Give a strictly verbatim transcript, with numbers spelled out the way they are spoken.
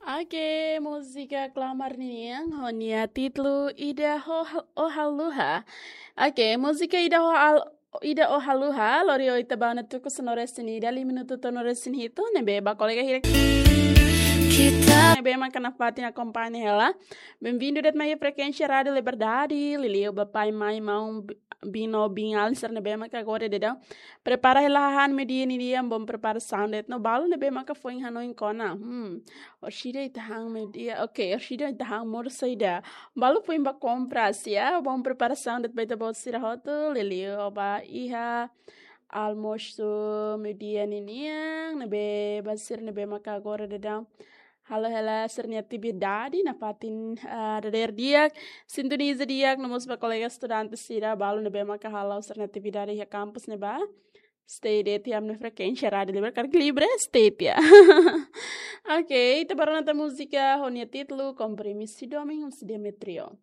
Oke, múzika Klamar ninian ho nia títulu Ida Ho-, Ó Haluha. Oke, múzika Ida Ho Hal-, Ida Ó Haluha, lori ho ita-boot ne'e tuku sanulu-resin-ida, liu minutu tolunulu-resin-hitu, ne'ebé ba kolega hirak. Kita. Ne'ebé maka nafatin akompaña hela. Bem-vindo de'it mai frekuénsia Rádio Liberdade, liuliu ba pai, mai, maun, bi-, biin no biin-alin sira ne'ebé maka agora daudaun prepara hela hahán meiudia ninian, bom preparasaun de'it no balu ne'ebé maka foin hanoin kona. Hmm. Orsida ita han meiudia. Oke, orsida ita han modo saida. Balu foin ba kompras, ya. Bom preparasaun de'it ba ita-boot sira hotu, liuliu ba iha almosu meiudia ninian, ne'ebé ba sira ne'ebé maka agora daudaun halo hela sira-nia atividade, nafatin, ah, dadeer di'ak, sintoniza di'ak, no mós ba kolega estudante sira, balu ne'ebé maka halo sira-nia atividade iha kampus ne'ebá. Stay de'it iha ami-nia frekuénsia Rádio Liber, karik Liber, stay de'it ya. Oke, ita ba rona tan múzika ho nia títulu Kompromisu Domin husi Demetrio.